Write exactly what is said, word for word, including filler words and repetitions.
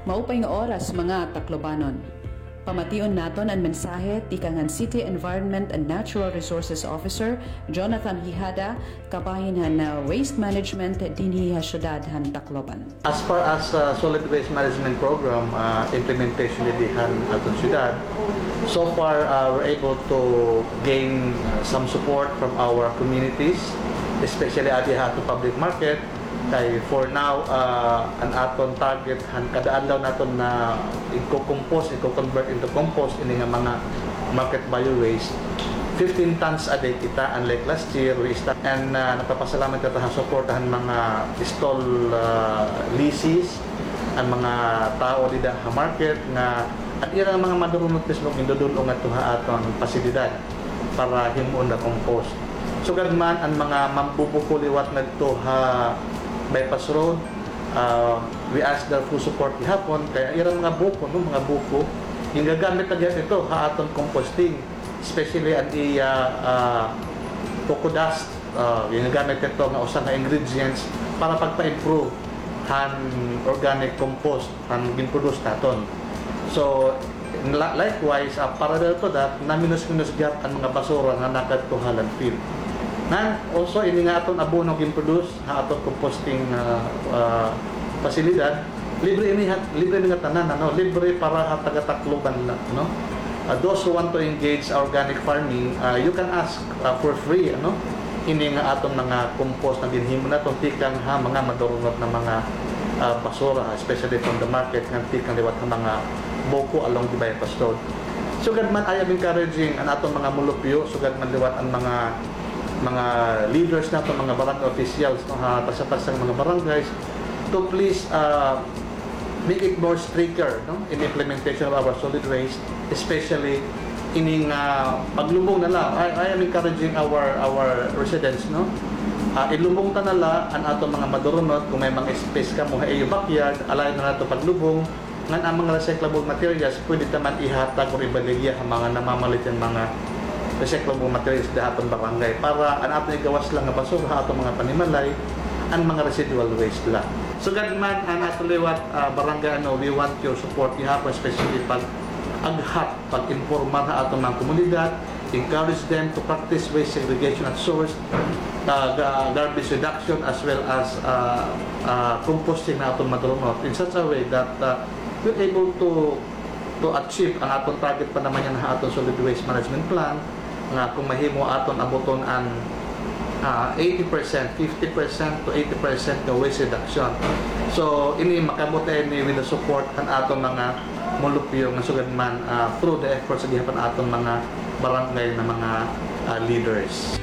Maupay nga oras, mga Taclobanon. Pamation naton an mensahe tikang han City Environment and Natural Resources Officer, Jonathan Hijada, kabahin han, ah, waste management dinhi ha syudad han Tacloban. As far as, ah, solid waste management program, ah, implementation dinhi han aton syudad, so far, ah, we're able to gain, ah, some support from our communities, especially adi ha aton public market. Kay for now, ah, an aton target han kada adlaw naton na igko-compose, igko-convert into compost ini nga mga market bio waste, fifteen tons a day kita, unlike last year, we start, and, ah, nagpapasalamat kita ha suporta han mga stall, ah, lessees, an mga tawo dida ha market nga an ira nga mga madurunot mismo gindudul-ong ngadto ha aton pasilidad para himuon na compost. Sugad man an mga mambubuko liwat ngadto ha Bypass Road, ah, we ask their full support gihapon, kay an ira mga buko, no, mga buko, gingagamit na gihapon ito ha aton composting, especially an iya, ah, coco dust, ah, gingagamit ito nga usa nga ingredients para pagpa-improve han organic compost an gin-produce naton. So, la-, likewise, ah, parallel to that, naminos-minos gihap an mga basura nga nakadto ha landfill. Ngan, also, ini nga aton abono gin-produce ha aton composting, ah, ah, pasilidad, libre ini ha-, libre ini nga tanan, ano, libre para ha taga-Tacloban la, no? Ah, those who want to engage organic farming, ah, you can ask, ah, for free, ano, ini nga aton mga compost nga ginhimo naton tikang ha mga madurunot na mga, ah, basura, especially from the market nga tikang liwat ha mga buko along the Bypass Road. Sugad man, I am encouraging an aton mga mulupyo, sugad man liwat an mga, mga leaders naton, mga barangay officials, no, ha tagsa-tagsa nga mga barangays, to please, ah, make it more stricter, no, in implementation of our solid waste, especially ining, ah, paglubong na la. I, I am encouraging our, our residents, no? Ah, ilubong ta na la an aton mga madurunot. Kung may mga space kamo ha iyo backyard, allow na la ito paglubong. Ngan an mga recyclable materials, pwede ta man ihatag or ibaligya ha mga namamalit hin mga recyclable materials dida ha aton barangay, para an aton igawas la nga basura ha aton mga panimalay, an mga residual waste la. Sugad man an aton liwat, ah, barangay, ano, we want your support gihapon, especially pag-aghat, pag-impormar ha aton mga komunidad, encourage them to practice waste segregation at source, ah, ga-, garbage reduction, as well as, ah, ah, composting na aton madurunot in such a way that, ah, we're able to, to achieve an aton target pa naman yana ha aton solid waste management plan, nga kung mahimo aton abuton an, ah, eighty percent, fifty percent to eighty percent nga waste reduction. So, ini makaabot ini with the support han aton mga mulupyo nga sugad man, ah, through the efforts gihapon aton mga barangay na mga, ah, leaders.